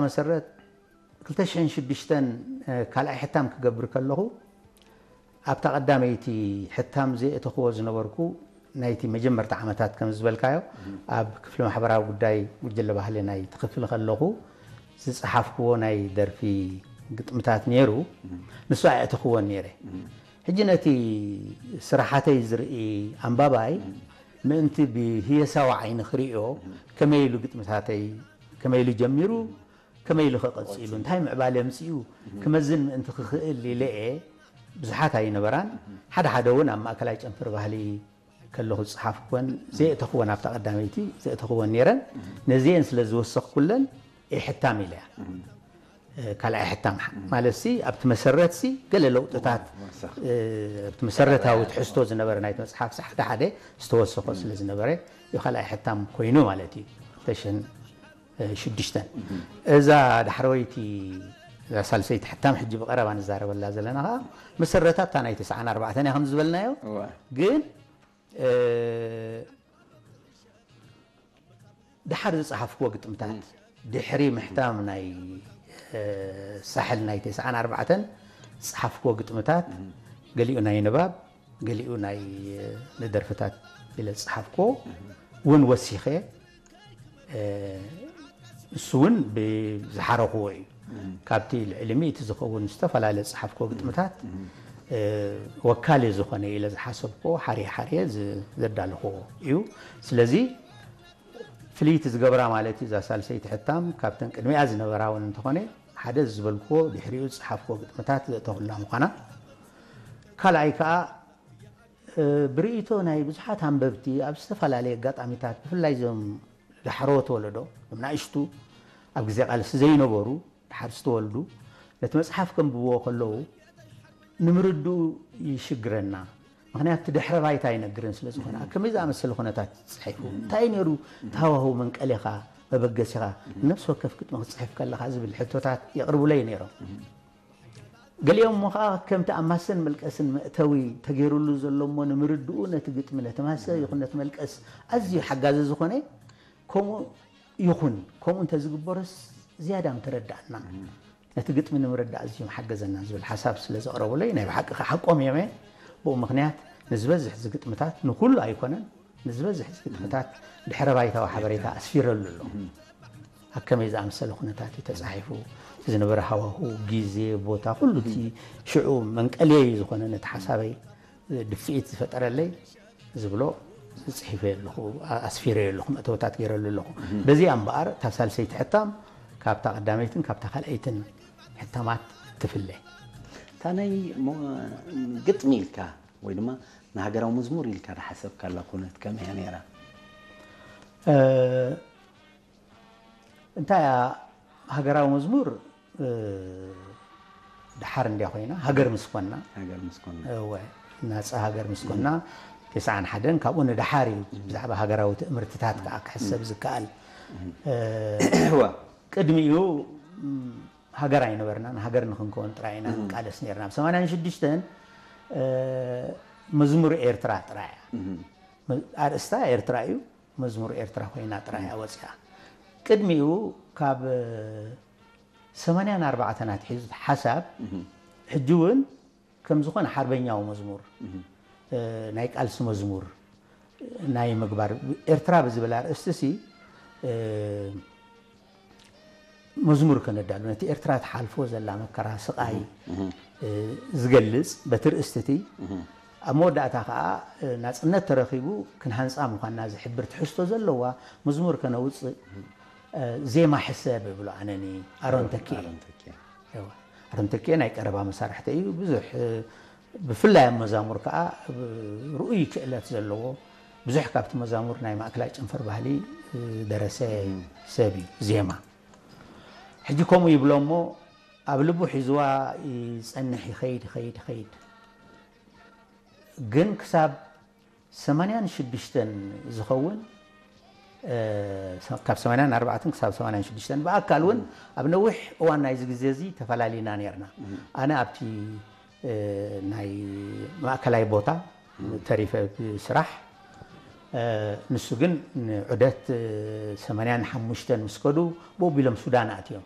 መሰረት ክልተ ሽሕን ሽዱሽተን ካልኣይ ሕታም ክገብር ከለኹ ኣብታ ቀዳመይቲ ሕታም ዘየእተኽዎ ዝነበርኩ ናይቲ መጀመርታ ዓመታት ከም ዝበልካዮ ኣብ ክፍሊ ማሕበራዊ ጉዳይ ጉጅለ ባህሊ ናይ ትኽፍል ከለኹ ዝጸሓፍክዎ ናይ ደርፊ ግጥምታት ነይሩ። ንሱ ኣየእተኽዎን ነይረ። ሕጂ ነቲ ስራሓተይ ዝርኢ ኣንባባይ ምእንቲ ብህየሳዊ ዓይኒ ክርእዮ ከመይ ኢሉ ግጥምታተይ ከመይ ኢሉ ጀሚሩ ከመይ ኢሉ ከቐጺሉ እንታይ ምዕባለ ምጽኡ ክመዝን ምእንቲ ክኽእል ኢለ እየ። ብዙሓት ኣይነበራን። ሓደ ሓደ እውን ኣብ ማእከላይ ጨንፈር ባህሊ ከለኹ ዝጸሓፍኩወን ዘየእተኽወን ኣብታ ቀዳመይቲ ዘእተኽወን ነይረን። ነዚአን ስለ ዝወሰኽኩለን እየ ሕታም ኢለያ። ካልኣይ ሕታም ማለት ሲ ኣብቲ መሰረት ሲ ገለ ለውጥታት ኣብቲ መሰረታዊ ትሕዝቶ ዝነበረ ናይቲ መጽሓፍ ሲ ሓደ ሓደ ዝተወሰኾ ስለ ዝነበረ እዩ ካልኣይ ሕታም ኮይኑ ማለት እዩ። ሽዱሽተን እዛ ዳሕረወይቲ እዛ ሳልሰይቲ ሕታም ሕጂ ብቐረባ ንዛረበላ ዘለና ከዓ መሰረታ እታ ናይ ተስዓን ኣርባዕተን እያ ከም ዝበልናዮ። ግን ድሓር ዝጸሓፍክዎ ግጥምታት ድሕሪ ምሕታም ናይ ሳሕል ናይ ተስዓን ኣርባዕተን ዝጸሓፍክዎ ግጥምታት ገሊኡ ናይ ንባብ ገሊኡ ናይ ንደርፍታት ኢለ ዝጸሓፍክዎ እውን ወሲኸ እሱ እውን ብዝሓረኽዎ እዩ። ካብቲ ልዕሊ ሚእቲ ዝኸውን ዝተፈላለየ ዝጸሓፍክዎ ግጥምታት ወካሊ ዝኾነ ኢለ ዝሓሰብክዎ ሓርየ ሓርየ ዘዳለኽዎ እዩ። ስለዚ ፍልይቲ ዝገብራ ማለት እዩ እዛ ሳልሰይቲ ሕታም ካብተን ቅድሚኣ ዝነበራ እውን እንተኾነ ሓደ ዝበልክዎ ድሕሪኡ ዝጸሓፍክዎ ግጥምታት ዘእተኹላ ምዃና ካልኣይ ከዓ ብርእይቶ ናይ ብዙሓት ኣንበብቲ ኣብ ዝተፈላለየ ኣጋጣሚታት ብፍላይ እዞም ዳሕረዎት ወለዶ እም ናእሽቱ ኣብ ግዜ ቃልሲ ዘይነበሩ ድሓር ዝተወልዱ ነቲ መጽሓፍ ከንብብዎ ከለዉ ንምርድኡ ይሽግረና። ምክንያቱ ድሕረ ባይታ ይነግርን ስለ ዝኾነ ኣብ ከመይ ዝኣመሰለ ኩነታት ተጻሒፉ እንታይ ነይሩ ተሃዋህው መንቀሌኻ መበገሲኻ ነፍሲ ወከፍ ግጥሚ ክትጽሕፍ ከለኻ ዝብል ሕቶታት የቕርቡለይ ነይሮም። ገሊኦም እሞ ከዓ ከምቲ ኣብ ማሰን መልቀስን መእተዊ ተገይሩሉ ዘሎ እሞ ንምርድኡ ነቲ ግጥሚ ነቲ ማሰ ይኹን ነቲ መልቀስ ኣዝዩ ሓጋዚ ዝኾነ ከምኡ ይኹን ከምኡ እንተዝግበሮስ ዝያዳ ምተረዳእና ነቲ ግጥሚ ንምርዳእ ኣዝዩ ምሓገዘና ዝብል ሓሳብ ስለ ዘቕረቡለይ ናይ ብሓቂ ከዓ ሓቆም እዮም እየ። ብኡ ምኽንያት ንዝበዝሕ እዚ ግጥምታት ንኩሉ ኣይኮነን ንዝበዝሕ እዚ ግጥምታት ድሕረ ባይታዊ ሓበሬታ ኣስፊረሉ ኣሎ። ኣብ ከመይ ዝኣመሰለ ኩነታት እዩ ተጻሒፉ ዝነበረ ሃዋሁ ግዜ ቦታ ኩሉ እቲ ሽዑ መንቀልየይ ዝኾነ ነቲ ሓሳበይ ድፍኢት ዝፈጠረለይ ዝብሎ ጽሒፈ ኣለኹ ኣስፊረ ኣለኹ መእተወታት ገይረሉ ኣለኹ። በዚኣ እምበኣር እታ ሳልሰይቲ ሕታም ካብታ ቀዳመይትን ካብታ ካልኣይትን ሕታማት ትፍለ። እታ ናይ ግጥሚ ኢልካ ወይ ድማ ንሃገራዊ መዝሙር ኢልካ ዝሓሰብካላ ኩነት ከመይ እያ ነይራ? እንታይ እያ ሃገራዊ መዝሙር ድሓር እንድያ ኮይና ሃገር ምስ ኮና ሃገር ምስ ኮና እወ ናፃ ሃገር ምስ ኮና ተስዓን ሓደን ካብኡ ንድሓር እዩ ብዛዕባ ሃገራዊ ትእምርትታት ከዓ ክሕሰብ ዝከኣል እወ ቅድሚኡ ሃገር ኣይነበርናን ሃገር ንክንከውን ጥራይ ኢና ንቃለስ ነርና ብ ሰማንያን ሽዱሽተን መዝሙር ኤርትራ ጥራይ እያ ኣርእስታ ኤርትራ እዩ መዝሙር ኤርትራ ኮይና ጥራይ እያ ወፂኣ። ቅድሚኡ ካብ ሰማንያን ኣርባዕተን ኣትሒዙ ሓሳብ ሕጂ እውን ከም ዝኾነ ሓርበኛዊ መዝሙር ናይ ቃልሲ መዝሙር ናይ ምግባር ኤርትራ ብዝብል ኣርእስቲ ሲ መዝሙር ከነዳሉ ነቲ ኤርትራ ትሓልፎ ዘላ መከራ ስቓይ ዝገልጽ በቲ ርእስቲ እቲ ኣብ መወዳእታ ከዓ ናጽነት ተረኺቡ ክንሃንጻ ምዃንና ዝሕብር ትሕዝቶ ዘለዋ መዝሙር ከነውጽእ ዜማ ሕሰብ እብሎ ኣነኒ ኣሮን ተኪኤ ኣሮን ተኪኤ ናይ ቀረባ መሳርሕተ እዩ ብዙሕ ብፍላይ ኣብ መዛሙር ከዓ ርኡይ ክእለት ዘለዎ ብዙሕ ካብቲ መዛሙር ናይ ማእከላይ ጨንፈር ባህሊ ዝደረሰ ሰብ እዩ ዜማ ሕጂ ከምኡ ይብሎ እሞ ኣብ ልቡ ሒዝዋ ይጸንሕ ይኸይድ ይኸይድ ይኸይድ ግን ክሳብ ሰማንያን ሽዱሽተን ዝኸውን ካብ ሰማንያን ኣርባዕተን ክሳብ ሰማንያን ሽዱሽተን ብኣካል እውን ኣብ ነዊሕ እዋን ናይዚ ግዜ እዚ ተፈላሊና ነርና ኣነ ኣብቲ ናይ ማእከላይ ቦታ ተሪፈ ብስራሕ ንሱ ግን ንዑደት ሰማንያን ሓሙሽተን ምስ ከዱ ብኡ ቢሎም ሱዳን ኣትዮም